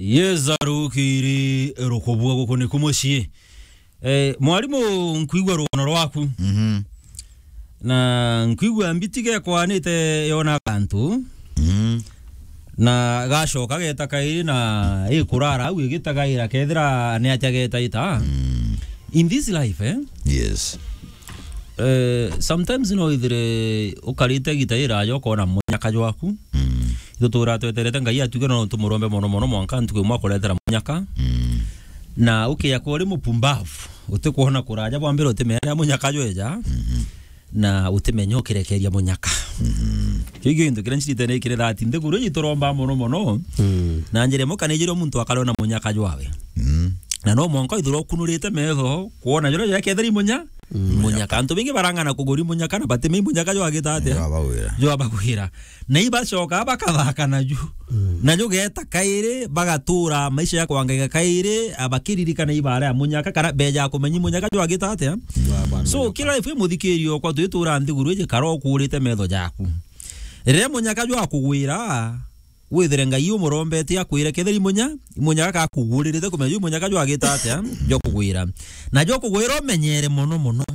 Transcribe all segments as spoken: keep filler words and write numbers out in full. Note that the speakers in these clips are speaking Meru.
Yeza rukiri rukubua guku niku mucii. Eh, mwarimu, nkwigua rugono rwaku. Mhm. Na nkwigua mbiti gekwanite yona gantu. Mhm. Na gacoka geta kairi na ikurara au igitagaira kethira ni atia getaita. Mm. In this life, eh? Yes. Eh, sometimes no ithire ukarite gita iraja ukona munyaka jwaku. Mm. Ithutura tweterete Ngai atuge no tumurombe mono mono mwanka ntuku imwe akuretera munyaka. Mm. Na ukia kuri mupumbavu, utikwona kuraja bwa mbere utimenya riria munyaka jweja. Mhm. Na utimenya ukirekeria munyaka. Mhm. Kiu gintu kiria ncirite ni kiri that nthiguru iji turomba mono mono. Mm. Na njira imwe kana ijiri muntu akarona munyaka jwawe. Mm. Na no mwanka ithura ukunurite metho, kwona jura jira kethira imunya, mm, munyaka. Antu baingi barang'ana kuguri munyaka na batimenya munyaka jwagita atia? Jwabagwira. Jwabagwira. Na ibacoka bakathaka naju. Mm. Na jugeta kairi, bagatura maisha ya kwangaika kairi, abakiririkana ibara ya munyaka, kana beja kumenya munyaka jwagita atia? Jwabagwira. So, kila life muthikirio kwa twitura nthiguru iji kara ukurite metho jaku. Riria munyaka jwakugwira, withire Ngai umurombetie akwire kethira imunya, imunyaka kakuguririte kumenya imunyaka jwagita atia, jokugwira. Na jokugwira umenyere mono mono.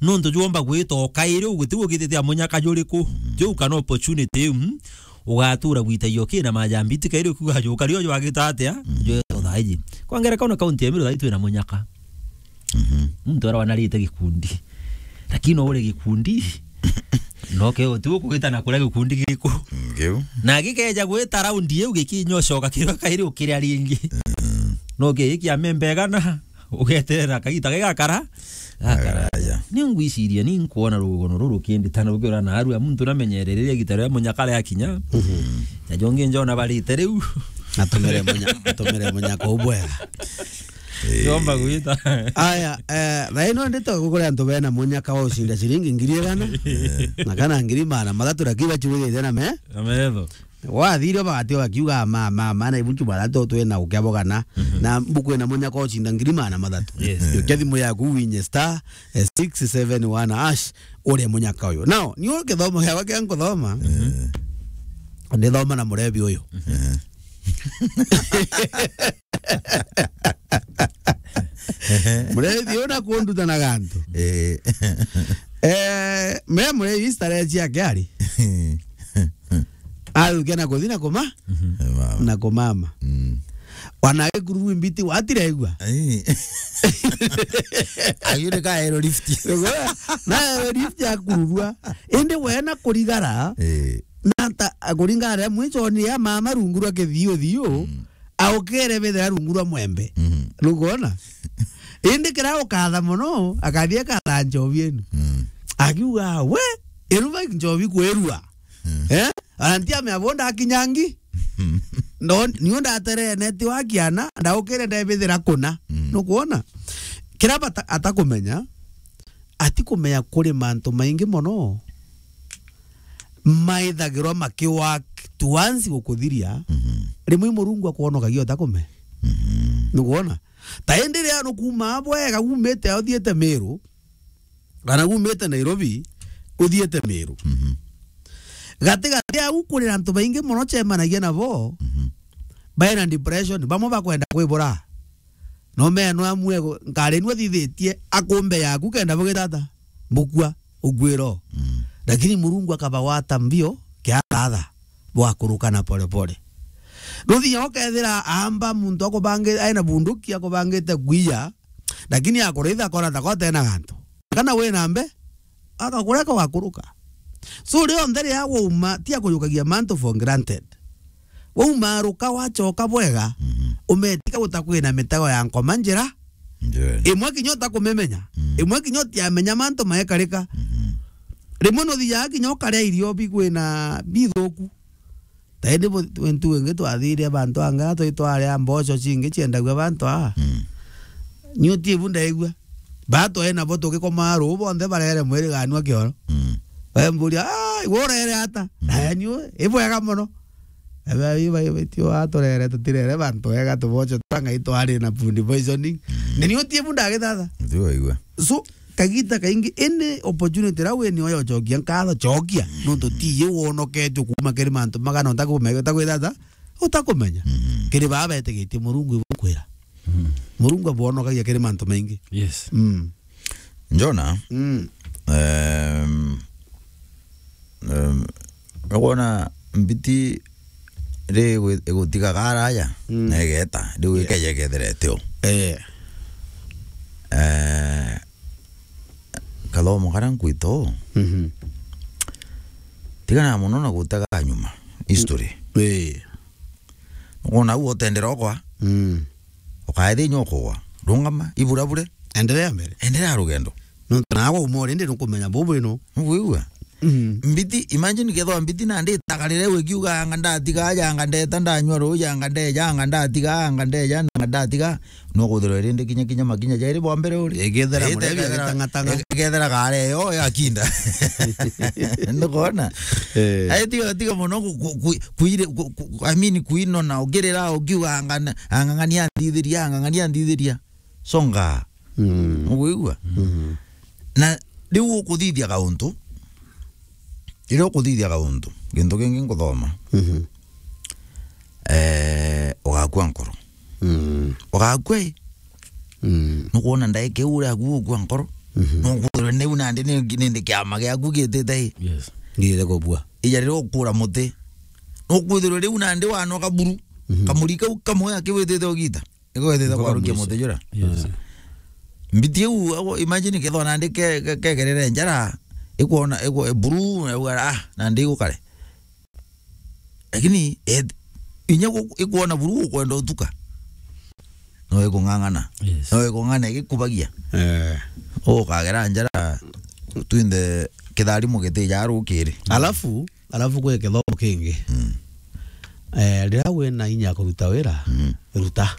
Nontu jwomba gwita o kairi uguti ugitite a munyaka juriku. Juu kana opportunity iu, mm, ugatura gwita iyo kina majambi ti kairi ukiuga juka rio jwagita atia, jwe thaiji. Kwa ngerekano kaunti ya Meru thaiji twina munyaka. Mhm. Muntu ara wanarite gikundi. Lakini no uri gikundi. No ke uti ukugita na kuria gikundi giriku. Ngiu. Na gikeja gwita raundi iu gikinyocoka kiria kairi ukiria ringi. Mm. No ke ikia membe gana, ugeterera kagita gigakara. Gakara. Aya. Ni ngwiciria, ni nkwona rugono ruru kindi tana ukiura na arua muntu namenyerere gita ria munyaka ria kinya. Mhm. Na jongi njona barite riu. Atumire munya-, atumire munyaka ubwega. Eh. Yomba gwita. Aya, eh, thaa ino ndito kugura antu bena munyaka wa ucinda ciringi ngiri igana. Eh. Na kana ngiri magana mathatu, lakini bachurithite na me? Na metho. Wathire bagati bakiuga, "Ma, ma, ma, na ibuchu bara to twina ukia bogana." Mhm. Na mbuku ina munyaka wa ucinda ngiri magana mathatu. Yes. Ukia thimu yaku winye star, eh, six seven one hash, uria munyaka uyu. Now, ni kithomo giakwa kia nkuthoma. Eh. Ndithoma na murebi uyu. Eh. Murethi una kunduta na gantu. Eh. Eh, me murethi starehe ciake ari. Athukia na kuthi na kuma-, mama. Na kumama. Mm. Wana gikuru mbiti watiregua. Eh. Ayu ni ka aero lift. Na aero lift ya kururua. Indi we na kurigara. Eh. Na ta, kuringana na mwichoni ya mama rungu rwa kithiu thiu, mm, aukere bethira rungu rwa mwembe. Mm. Nugona? Indi kira ukatha mono, akathie akatha nchobi enu. Mm. Akiuga, "We, iruba nchobi kwirua." Mm. Eh? Anti amea bonda akinyangi. Mm. No, niyo ndaterene ti wa kiana, ndaukire ndebithira kuna. Mm. Nukwona? Kira bata-, atakumenya, atikumenya kuri mantu maingi mono maithagirwa makiwa tuanzi gukuthiria, mhm, rimwe Murungu akwonokagia utakume. Mhm. Nukwona? Ta indi ria nukuuma bwega, umite uthiite Meru, kana umite Nairobi, uthiite Meru. Mhm. Gati gati au kuri na antu baingi mono cemanagia nabo, mhm, baina depression, bamwe bakwenda kwibura. No meno amwe go-, nkari nwe thithitie akumbe yaku kenda bugitata, bukua, ukwiro. Mm. Lakini Murungu akabawata mbio, kiagatha, bwakurukana pole pole. Nuthinya ukethira amba muntu akubangi-, aina bunduki akubangite kwiya, lakini akuritha akona ta kote na gantu. Kana wina mbe, akakureka wakuruka. So, rionthe riria wauma, ti akujukagia mantu for granted. Waumaruka wachoka bwega, mhm, umetika gutakwina mitego ya nkoma njira. Njira. Imwe kinya utakumemenya. Mm. Imwe kinya utiamenya mantu maekarika. Mhm. Rimwe nuthiaga kinya ukaria irio bikwina bithuku. Ta indi bu-, ntu ingi twathire bantu anga twitwaria mboco cingi ciendagua bantu aa. Mm. Ni uti ibu ndaigua. Ba twae nabo tugikomaa ruu bonthe barere mwiri ganua kioro. Mm. Bemburia, "Ah, iwe urere ata?" Mm. "Eh, ni u-, ibwega mono." Ebe, iba, iba, tio aturere, tutirere bantu ega, tuboco twa Ngai twari na food poisoning. Mm. Ni ni uti ibu ndagithatha. Ndio igua. So, kagita kaingi, any opportunity ira wini oyo chokia nkatho, chokia. Mm. Nontu ti ye wonoketwe kuuma kiri mantu magana utakumenya, utakwithata, utakumenya. Mm. Kiri baa betigitie Murungu ibukwira. Mm. Murungu abwonokagia kiri mantu maingi. Yes. Mm. Jona, mm, em, em, ukwona mbiti ri gwi-, igutigaga araja, mm, na igeta, riu, yeah, ikeja ikethira itio. Eh. Eh, kathomo karia nkwita uu, mhm, tigana mono na gutega nyuma history. Eh. Nukwona uu utendera okwa. Mm. Ukaethia inya ukugwa. Rungama, iburabure. Endelea mbere. Endelea rugendo. Nontu naagwa uma urindi nukumenya bubu ino. Nukwigua? Mm. Mbiti, imagine kethwa mbiti nandi itagarire ikiuga, "Anga ndatiga aja, anga ndeta ndanyua ruuji, anga ndeja, anga ndatiga, anga ndeja, anga ndatiga." No kwithirwa irindi kinya, kinya makinya jairi bwa mbere uri. Igethera murebi, igethera, igitang'atang'a, igethera kare yo yakinda. Ndukona? Eh. Ai, tiga, tiga mono ku-, ku-, ku-, kuire-, ku-, ku-, I mean, kuinona, ukirira, ukiuga, "Ang'ana-, ang'ang'ania ndithiria, ang'ang'ania ndithiria." Songa. Mm. Ukwigua? Mm. Na riu ukuthithia kauntu, riria ukuthithia kauntu, gintu kingi nkuthoma. Mhm. Eh, ugakua nkoro. Mm. Ugakua i? Mm. Nukwona ndaika iu uria aku ukua nkoro? Mhm. Nukwithirwa niu nandi ni, nindi kiama giaku gitite i? Yes. Ngirite kubua. Ija riria ukura muti. Nukwithirwa riu nandi wanoka buru. Mhm. Kamuri kau kamwe akiwitite ugita. Igwetete kwarukia muti jura. Yes. Mbiti iu, ago, imagine kethwa nandi ke-, ke-, kegerere njara, ikwona, ikwo-, buru, yauga, "Ah, nandi igukare." Lakini, et-, inya gu-, ikwona buru ukwenda utuka. No ikung'ang'ana. Yes. No ikung'ang'ana igikubagia. Eh. Ukagera njara, twinthe kitharimo gitija rukiri. Alafu, Alafu kwi kithomo kingi. Mm. Eh, riria wina inya ya kuruta wira, mm, ruta.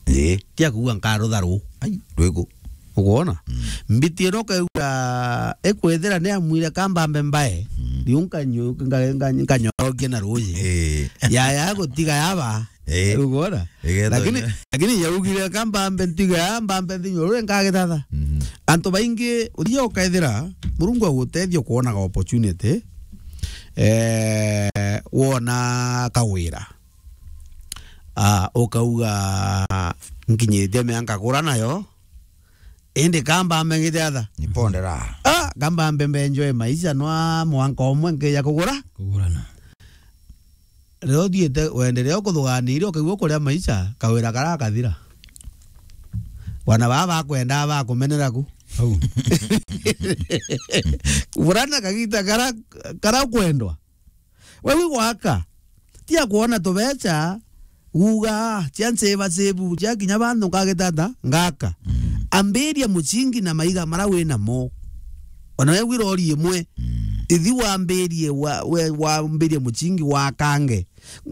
Ii. Ti akuuga nkarutha ruu. Ai, rwiku. Ukwona? Mm. Mbiti ino ukauga, ikwithira ni amwire kambambe mbae, mm, riu nkanyu-, nka-, nka-, nkanyorokia na ruuji. Ii. Yaya gutiga yaba. Eh. Ukwona? Igetho. Lakini, lakini yaugire kambambe ntiga ya mbambe nthinyurure nkagithatha. Mhm. Antu baingi, uthia ukaethira, Murungu agutethia ukwonaga opportunity, eh, wona kawira. Ah, ukauga, "Nkinyiritie miaka kura nayo, indi kambambe ngithatha." Nipondera. Ah, kambambe mbenjoe maisha nwa mwanka umwe nkija kugura. Kugurana. Riria uthiite, wenderea ukuthuganire, ukaigua ukuria maisha, kawira karakathira. Bwana baba bakwenda bakumenera ku. Au. Burana kagita kara, kara kwendwa. Wewe gwaka. Ti akwona tubecha, uga, "Ah, cia nseva sevu, cia kinya bantu ngagitata, ngaka." Mm. Ambiria muchingi na maiga mara wina mo. Ona we gwira ori imwe. Mm. Ithi wambirie wa, we, wambirie muchingi wakange.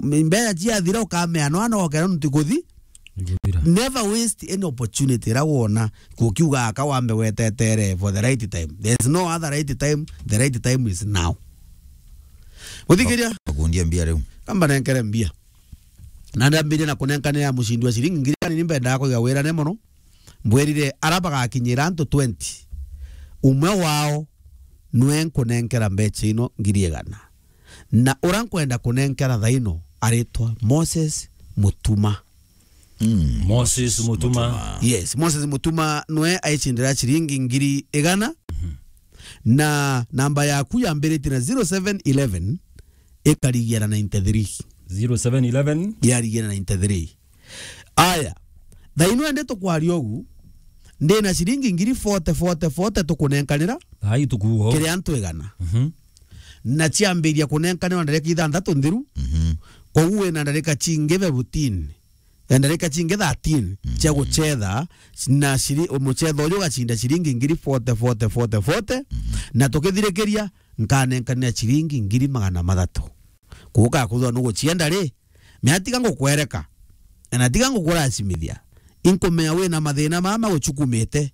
M-, mbeca ciathira ukamea no ano okera ntu kuthi. Iguthira. Never waste any opportunity ira wona kukiuga aka wambe wetetere for the right time. There is no other right time. The right time is now. Muthikiria? Kundia mbia riu. Kamba nenkere mbia. Na ndambire na kunenkanira mucindi wa ciringi ngiri igana ni mbendaga kuiga wirane mono. Mbwirire ara bagakinyira antu twenty. Umwe wao nwe nkunenkera mbecha ino ngiri igana. Na ura nkwenda kunenkera thaino aritwa Moses Mutuma. Mm. Moses Mutuma. Mutuma. Yes, Moses Mutuma nwe aicindira ciringi ngiri igana. Mhm. Na namba yaku yambiritie na zero seven eleven, ikarigia na ninety-three. Zero seven eleven? Yarigia na ninety-three. Aya, thaino ende tukwaria ugu, ndina ciringi ngiri forty, forty, forty tukunenkanira. Ai, tukuo. Kiri antu igana. Mhm. Na ciambiria kunenkanirwa ndarika ithanthatu nthiru. Mhm. Koguo wina ndarika cingi fifteen, eh, ndarika cingi thirteen, mhm, cia gucetha, na ciri-, mucetho uju ugacinda ciringi ngiri forty, forty, forty, forty, mhm, na tukithirikiria, nkanenkanira ciringi ngiri magana mathatu. Kuuka kuthwa nugucienda ri, mea tiga ngukwereka, na tiga ngukuracimithia. Inkumenya wina mathina mama guchukumite,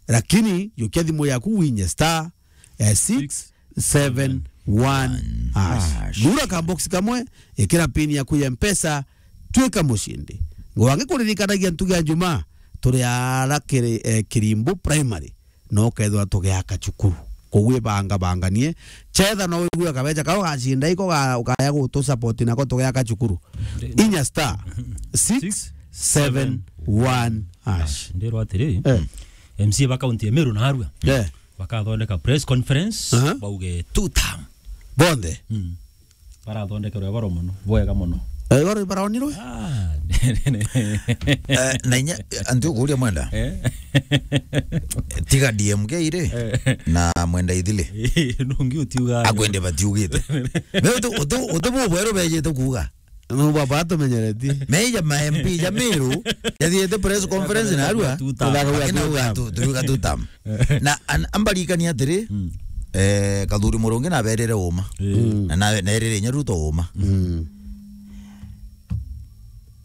lakini yukia thimu yaku winye star, eh, six seven one hash. Hash. Thura ka box kamwe, ikira pin yaku ya Mpesa, twika mucindi. Ngwangi kuririkanagia ntugi ya Juma, turi ara kiri, eh, Kirimbu Primary, no kethwa tugiaka cukuru. kugwibanga banganie. Chetha no wigue kabecha kau gacinda iko ga-, ukaya gutu support nako tugeaka cukuru. Inya star six seven one hash. Ndirwa atiri, Eh. M C A ba kaunti ya Meru na Arua Eh. bakathondeka press conference, Aha. bauge two term. Bonthe? Mm. Barathondekerwe boro mono, bwega mono. Eh, baro baraonirwe? Ah, Eh, na inya, anti ukuria mwenda? Eh. Tiga D M K ri, Eh. na mwenda ithili. Nungi utiuga. Akwende batiugite. Me uti, uti, uti bu bweru bejite kuuga. No baba atumenyeretie. Meja ma M P ja Meru, yathiete press conference na Arua. Two term. Akina uga tu, turuga two term. Na an-, ambarikania atiri, Mm. eh, Kathuri Murungi naberire uma. Mm. Na, na, naerire inya Ruto uma. Mm.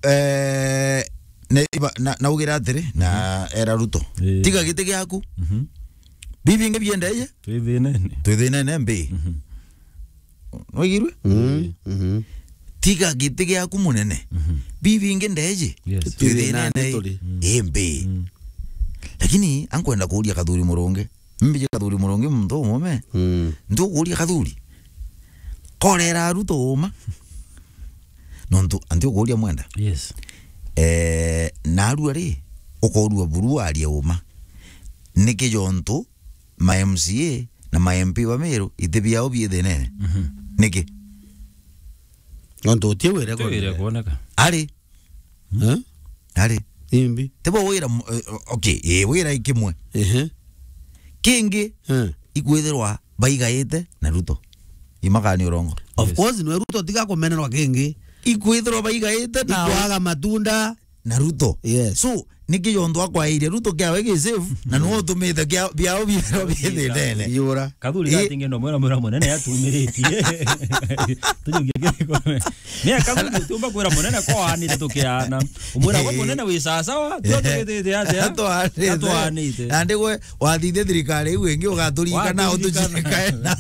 Eh, ne, iba, na, naugira atiri, na era Ruto. Eh. Tiga giti giaku. Mhm. Bibingi biendeje? Twithinene. Twithinene mbi. Mhm. Nwigirwe? Mm, mhm. Tiga giti giaku munene. Mhm. Bibingi ndeji. Yes. Twithinene Twithinene turi. Mm. Imbi. Mm. Lakini ankwenda kuuria Kathuri Murungi. Mbiji Kathuri Murungi muntu umume. Mm. Ntukuuria Kathuri. Korera Ruto uma. Nontu anti ukuuria mwenda. Yes. Eh, narua ri, ukorua buru aria uma. Niki jontu ma M C A na ma M P ba Meru, iti biao biithinene. Mhm. Niki? Nontu uti wire Uti wire kuoneka. kuoneka. Ari. Eh? Ari. Imbi. Tibo wira mu-, eh, okay, eh, wira ikimwe. Ehe. Kingi, Eh. ikwithirwa baigaite na Ruto. Imakani urongo. Of Yes. course, nwe Ruto tiga kumenerwa kingi. Ikwithirwa baigaite na Ikwaga matunda. na Ruto. Yes. So, niki jontu akwairie Ruto kiawe gi safe, na no utumite kia, biao biero biithinene. Iyura. Kathuri Eh. gatingi no mwira, mwira munene atumiritie. Tujukie kiriko. Ni Kathuri utiumba kwira munene ko anite tukiana. Umwira gwe Eh. munene wi sasawa, tio Eh. tugitite atia? Atwanite. Atwanite. Na ndigwe wathithia thirikari iu ingi ugaturika na Waturika. utucikaena.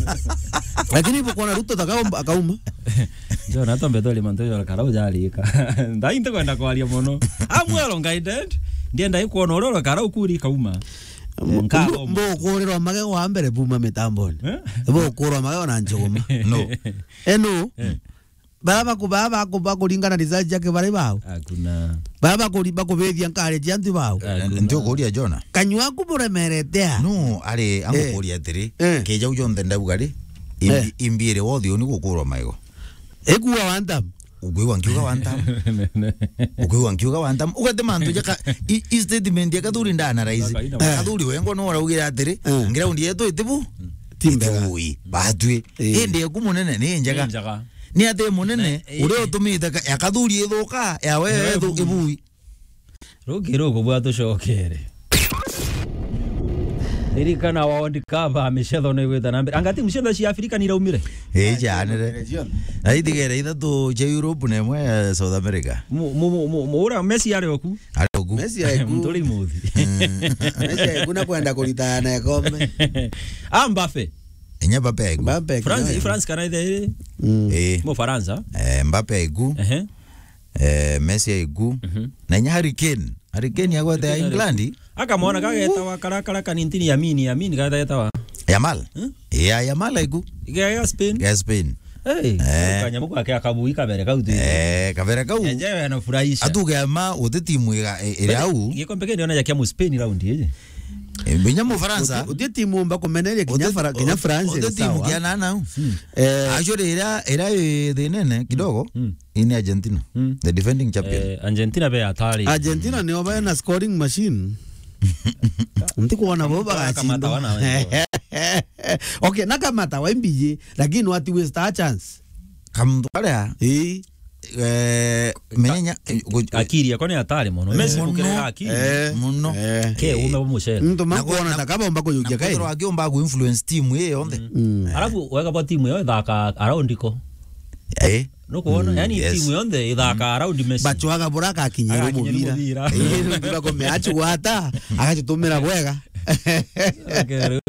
Lakini ibo kuona Ruto taka akauma. Ndio, na tombe tole mantu ya karau jarika. Ndai ntikwenda kwaria mono. I'm well guided. Ndienda ikwona uria uria karau kuri kauma. Mbo-, Nkagoma. mbo ukurirwa magego wa mbere buma mitamboni. Eh? Mbo ukurwa magego na njuguma. No. Eh, no. Eh. Bara baku-, bara baku-, bakuringana research yake bari bao. Hakuna. Bara bakuri-, bakubithia nkari cia antu bao. Hakuna. Nti ukuria Jona? Kanyua aku buremerete a? No, ari, Eh. angukuria atiri, Eh. keja u jonthe ndauga ri, imbi-, Eh. imbi iri wothe uni gukurwa maigo. Ikuwa one time. Ukwigua nkiuga one time. Ukwigua nkiuga one time. Ugate mantu jaka, i, i statement ya Kathuri nda analyze. Kathuri wengwa no uraugira atiri, Eh. ground yetu itibu? Ti mbega. Itibui. Batwi. Eh. Indi eku munene ni njega. Ni njega. Ni ati munene, Ne, eh. uria utumite ka-, ya Kathuri ithuka, ya we Ewe ithu-, ibui. Ibui. Ruki ruku bwa tucokere. Ririkana World Cup, micetho ni igwita na mbere. Anga timu ciothe cia Afrika ni iraumire? Ii, cianire. Na itigere ithatu cia Europe na imwe ya South America. Mu-, mu-, mu-, mu-, mu-, ura Messi ari oku? Ari oku. Messi aiku. Muturi muthi. Mm. Messi aiku na kwenda kuritana ikombe. Ah, Mbappe. Inya Mbappe aiku. Mbappe aiku, France, nayo. France kana ithe iri? Mm. Ii. Mu Faransa. Eh, Mbappe aiku. Ehe. Eh, Messi aiku. Mhm. Na inya Harry Kane. Harry Kane agwete ya Harry Kane England. Akamwona kagetawa kara, kara kanintini Yamini, Yamini kagetawa. Yamal? Hmm? Ya, Yamal aiku. Ga, ga Spain? Ga Spain. Hey, Eh. kanyamu gake akabui kabere kau tu. Eh, kabere kau. Enjewe anafurahisha. Atuge ama uti timu iga, i-, iri au. Gikombe kindi ona ya kia mu Spain round iji. Eh, binya mu Faransa. Uti, uti timu mba kumeneria kinya Uti, Fara-, kinya uti, France uti iri timu sawa. Kia nana au. Hmm. Eh. Actually, ira, ira i thinene kidogo. Hmm. Ii ni Argentina. Mm. The defending champion. Eh, Argentina be atari. Argentina nio bena scoring machine. Ntikwona bo Kamata bagacindwa. wana wengi. Okay, na Kamata wa mbiji, lakini wati waste a chance. Kamuntu karia. Ii. Eh, menya, eh, gu-, Akiri yako ni atari mono. Messi Muno. Gukirira akiri. Eh. Muno. Eh. Ke ume bo mucere. Muntu Na makuona kwa-, ta kaba umba kuyukia na kai. Kwithirwa akiumba ku influence team iyo yonthe. Mm. Alafu wega bo timu yo ithaka around iko. Eh. Nukwona? Mm, yani yes. Timu yonthe ithaka around Messi. Bachwaga bura akakinyira Agakinyira mubira. Mubira. Eh, ndio kome achugwata, agachitumira bwega. Okay.